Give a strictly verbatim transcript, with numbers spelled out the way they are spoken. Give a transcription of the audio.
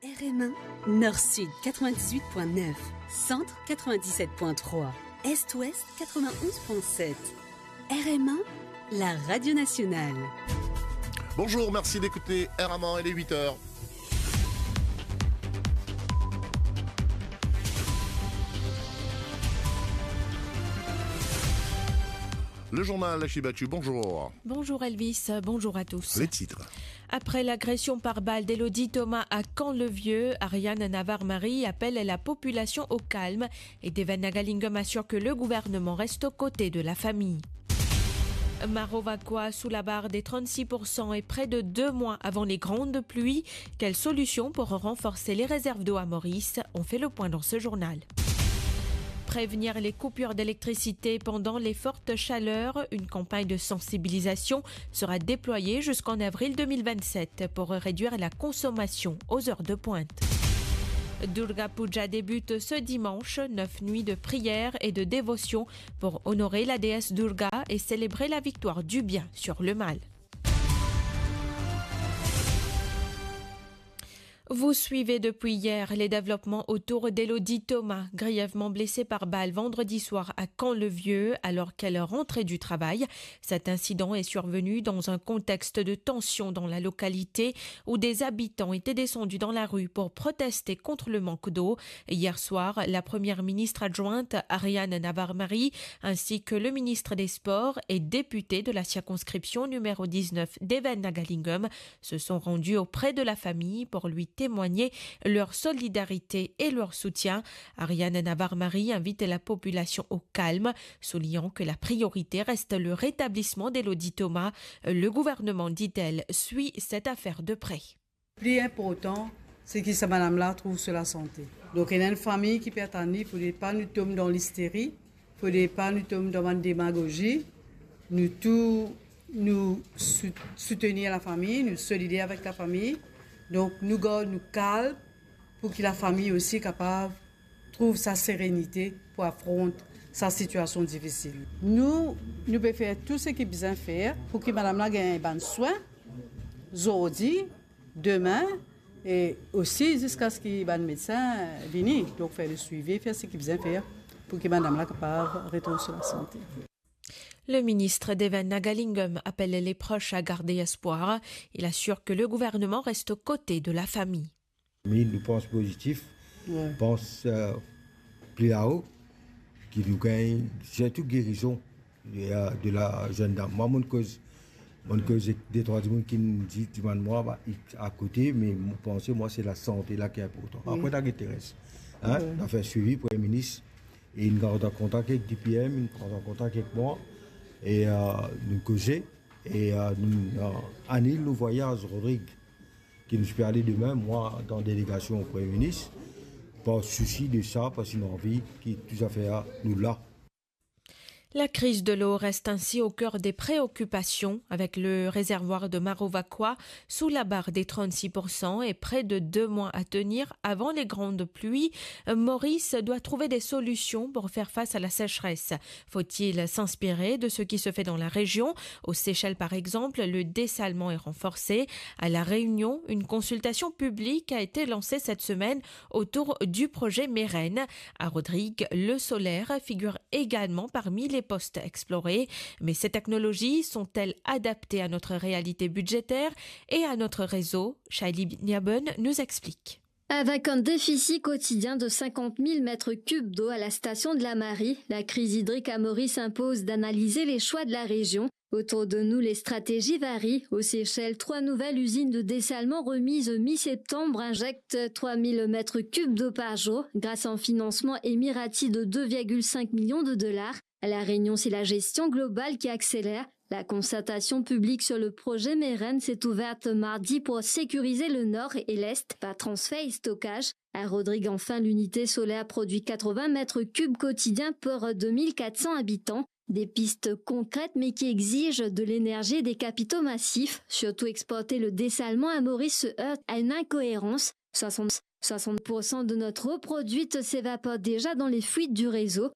R M un, Nord-Sud quatre-vingt-dix-huit point neuf, Centre quatre-vingt-dix-sept point trois, Est-Ouest quatre-vingt-onze point sept. R M un, la radio nationale. Bonjour, merci d'écouter R M un, il est huit heures. Le journal, Achille Bathu, bonjour. Bonjour Elvis, bonjour à tous. Les titres. Après l'agression par balle d'Elodie Thomas à Camp-le-Vieux, Ariane Navarre-Marie appelle la population au calme et Devan Nagalingam assure que le gouvernement reste aux côtés de la famille. Maro Vacoa sous la barre des trente-six pour cent et près de deux mois avant les grandes pluies. Quelle solution pour renforcer les réserves d'eau à Maurice ? On fait le point dans ce journal. Prévenir les coupures d'électricité pendant les fortes chaleurs, une campagne de sensibilisation sera déployée jusqu'en avril deux mille vingt-sept pour réduire la consommation aux heures de pointe. Durga Puja débute ce dimanche, neuf nuits de prière et de dévotion pour honorer la déesse Durga et célébrer la victoire du bien sur le mal. Vous suivez depuis hier les développements autour d'Elodie Thomas, grièvement blessée par balle vendredi soir à Camp-le-Vieux, alors qu'elle rentrait du travail. Cet incident est survenu dans un contexte de tension dans la localité, où des habitants étaient descendus dans la rue pour protester contre le manque d'eau. Hier soir, la première ministre adjointe Ariane Navarre-Marie ainsi que le ministre des Sports et député de la circonscription numéro dix-neuf, Devan Nagalingam, se sont rendus auprès de la famille pour lui témoigner leur solidarité et leur soutien. Ariane Navarre-Marie invite la population au calme, soulignant que la priorité reste le rétablissement d'Elodie Thomas. Le gouvernement, dit-elle, suit cette affaire de près. Pli inportan, se ki sa madam la trouv so lasante. Donk, ena enn fami ki pe atann li, fode pa nou tom dan listeri, fode pa nou tom dan bann demagozi. Nou tou, nou sou-, soutenir lafami, nou solider avek lafami. Donk, nou gard nou kalm pou ki lafami osi kapav trouv sa serenite pou afront sa sitiasion difisil. Nou, nou pe fer tou seki bizin fer pou ki madam la gagn bann swin, zordi, dime, e osi ziska se ki bann medsin vini, donk fer le swivi, fer seki bizin fer pou ki madam la kapav retourn so lasante. Le ministre Devan Nagalingam appelle les proches à garder espoir. Il assure que le gouvernement reste aux côtés de la famille. Me nou pans pozitif, pans, euh, pli lao, ki nou gagn sirtou gerizon de, euh, de la zenn dam. Mwa, mo'nn koz, mo'nn koz ek de trwa dimoun ki'nn di, dimann mwa, ba, akote, me mo panse, mwa, se lasante la ki inportan. Apre, nou gagn Thérèse, hein, nou fer swivi, Premie Minis, e inn gard an kontak ek D P M, inn pran an kontak ek mwa, e, euh, nou koze, e, euh, nou, euh, anil nou vwayaz, Rodrig, ki nou ti pe ale dime, mwa, dan delegasion Premie Minis, par sousi de sa, parski nou anvi ki tou zafer nou la. La crise de l'eau reste ainsi au cœur des préoccupations, avec le réservoir de Maro Vacoa sous la barre des trente-six pour cent et près de deux mois à tenir avant les grandes pluies. Maurice doit trouver des solutions pour faire face à la sécheresse. Faut-il s'inspirer de ce qui se fait dans la région ? Aux Seychelles, par exemple, le dessalement est renforcé. À La Réunion, une consultation publique a été lancée cette semaine autour du projet Meren. À Rodrigues, l'eau solaire figure également parmi les pistes explorées. Mais ces technologies sont-elles adaptées à notre réalité budgétaire et à notre réseau ? Shaili Niaben nous explique. Avec un déficit quotidien de cinquante mille mètres cubes d'eau à la station de la Marie, la crise hydrique à Maurice impose d'analyser les choix de la région. Autour de nous, les stratégies varient. Aux Seychelles, trois nouvelles usines de dessalement remises mi-septembre injectent trois mille mètres cubes d'eau par jour grâce à un financement Emirati de deux virgule cinq millions de dollars. À La Réunion, c'est la gestion globale qui accélère. La concertation publique sur le projet Meren s'est ouverte mardi pour sécuriser le nord et l'est par transfert et stockage. À Rodrigues, enfin, l'unité solaire produit quatre-vingts mètres cubes quotidiens pour deux mille quatre cents habitants. Des pistes concrètes, mais qui exigent de l'énergie et des capitaux massifs. Surtout, exporter le dessalement à Maurice se heurte à une incohérence. Soixante, soixante pour cent de notre eau produite s'évapore déjà dans les fuites du réseau.